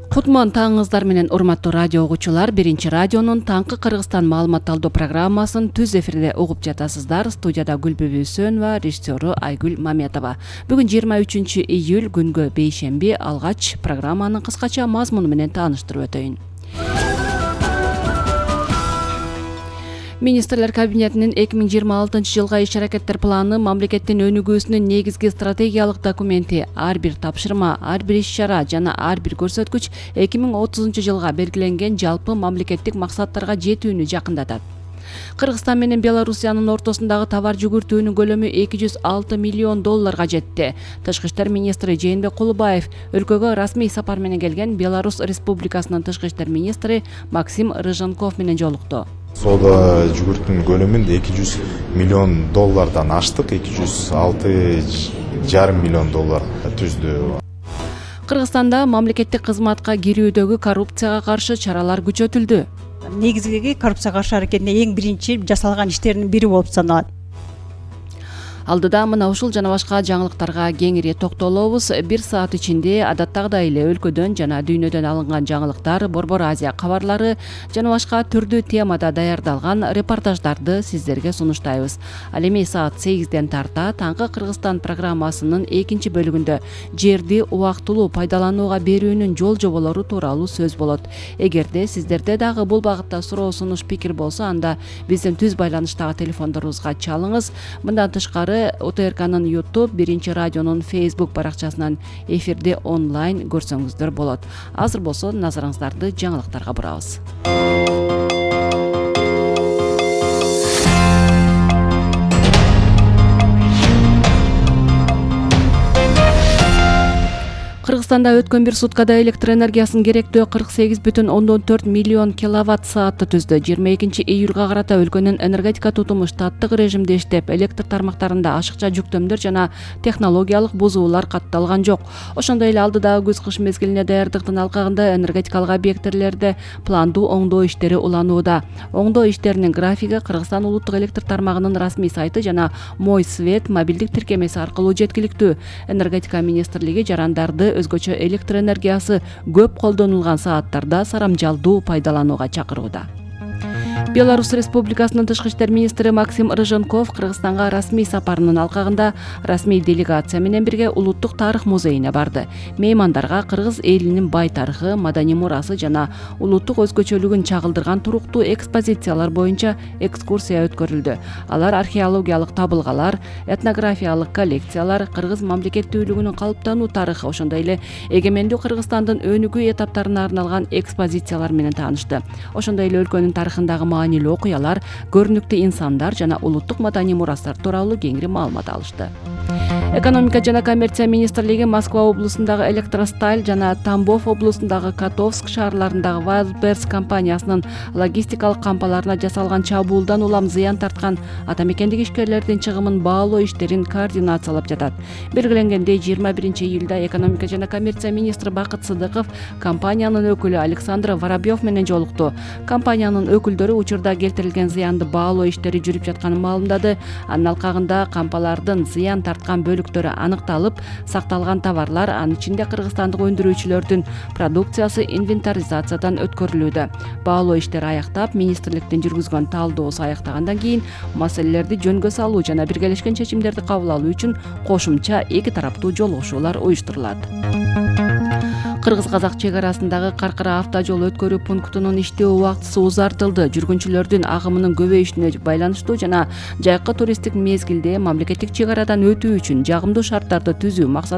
Кутман таңыңыздар менен урматтуу радио угуучулар, Биринчи радионун таңкы Кыргызстан маалымат алуу программасын түз эфирде угуп жатасыздар. Студияда Гүлбүбү Сөнова, режиссеру Айгүл Маметова. Бүгүн 23 июль күнгө бейшемби. Алгач программанын кыскача мазмуну менен тааныштырып өтөйүн. Министрлер кабинетинин 2026 жылга иш-аракеттер планы мамлекеттин өнүгүүсүнүн негизги стратегиялык документи. Ар бир тапшырма, ар бир иш-чара жана ар бир көрсөткүч 2030 жылга белгиленген жалпы мамлекеттик максаттарга жетүүнү жакындатат. Кыргызстан менен Белоруссиянын ортосундагы товар жүгүртүүнүн көлөмү $206 миллион жетти. Тышкы иштер министри Жээнбек Кулубаев өлкөгө расмий сапар менен келген Беларусь Республикасынын тышкы иштер министри Максим Рыженков менен жолукту. Соода жүгүртүүнүн көлөмүн $200 миллион аштык, $206,5 миллион түздү. Кыргызстанда мамлекеттик кызматка кирүүдөгү коррупцияга каршы чаралар күчөтүлдү. Негизги коррупцияга каршы аракетине эң биринчи жасалган иштердин бири болуп саналат. Алдыда мына ушул жана башка жаңылыктарга кеңири токтолобуз. 1 саат ичинде адаттагыдай эле өлкөдөн жана дүйнөдөн алынган жаңылыктар, Борбор Азия кабарлары жана башка түрдүү темада даярдалган репортаждарды сиздерге сунуштайбыз. Ал эми саат 8ден тарта таңкы Кыргызстан программасынын экинчи бөлүгүндө жерди убактылуу пайдаланууга берүүнүн жол жоболору тууралуу сөз болот. Эгерде сиздерде дагы бул багытта суроо, сунуш, пикир болсо, анда биздин түз байланыштагы телефондорубузга чалыңыз. Мындан тышкары УТРКнын YouTube, Биринчи радионун Facebook баракчасынан эфирде онлайн көрсөңүздөр болот. Азыр болсо назарыңыздарды жаңылыктарга бурабыз. Кыргызстанда өткөн бир суткада электр энергиясынын керектөө 48,4 миллион киловатт саатты түздү. 22 июлга карата өлкөнүн энергетика тутуму штаттык режимде иштеп, электр тармактарында ашыкча жүктөмдөр жана технологиялык бузуулар катталган жок. Ошондой эле алдыдагы күз-кыш мезгилине даярдыктын алкагында энергетикалык объекттерлерде пландуу оңдоо иштери уланууда. Оңдоо иштеринин графиги Кыргызстан улуттук электр тармагынын расмий сайты жана Мой свет мобилдик тиркемеси аркылуу жеткиликтүү. Энергетика министрлиги жарандарды өзгөчө электр энергиясы көп колдонулган сааттарда сарамжалдуу пайдаланууга чакырууда. Беларусь Республикасынын тышкы иштер министри Максим Рыженков Кыргызстанга расмий сапарынын алкагында расмий делегация менен бирге Улуттук тарых музейине барды. Меймандарга кыргыз элинин бай тарыхы, маданий мурасы жана улуттук өзгөчөлүгүн чагылдырган туруктуу экспозициялар боюнча экскурсия өткөрүлдү. Алар археологиялык табылгалар, этнографиялык коллекциялар, кыргыз мамлекеттүүлүгүнүн калыптануу тарыхы, ошондой эле эгемендүү Кыргызстандын өнүгүү этаптарына арналган экспозициялар менен таанышты. Ошондой эле өлкөнүн тарыхындагы маанилүү окуялар, көрүнүктүү инсандар жана улуттук маданий мурастар тууралуу кеңири маалымат алышты. Экономика жана коммерция министрлиги Москва облусундагы Электросталь жана Тамбов облусундагы Котовск шаарларындагы Wildberries компаниясынын логистикалык кампаларына жасалган чабуулдан улам зыян тарткан атамекендик ишкерлердин чыгымын баалоо иштерин координациялап жатат. Белгиленгендей, 21 июлда экономика жана коммерция министри Бакыт Сыдыков компаниянын өкүлү Александр Воробьев менен жолукту. Компаниянын өкүлдөрү учурда келтирилген зыянды баалоо иштери жүрүп жатканын маалымдады. Анын алкагында кампалардын зыян тарткан бөлүктөрү аныкталып, сакталган товарлар, анын ичинде кыргызстандык өндүрүүчүлөрдүн продукциясы инвентаризациядан өткөрүлүүдө. Баалоо иштери аяктап, министрликтин жүргүзгөн талдоосу аяктагандан кийин маселелерди жөнгө салуу жана биргелешкен чечимдерди кабыл алуу үчүн кошумча эки тараптуу жолугушуулар уюштурулат. Кыргыз-казак чек арасындагы Каркыра автожол өткөрүү пунктунун иштөө убактысы узартылды. Жүргүнчүлөрдүн агымынын көбөйүшүнө байланыштуу жана жайкы туристтик мезгилде мамлекеттик чек арадан өтүү үчүн жагымдуу шарттарды түзүү максатында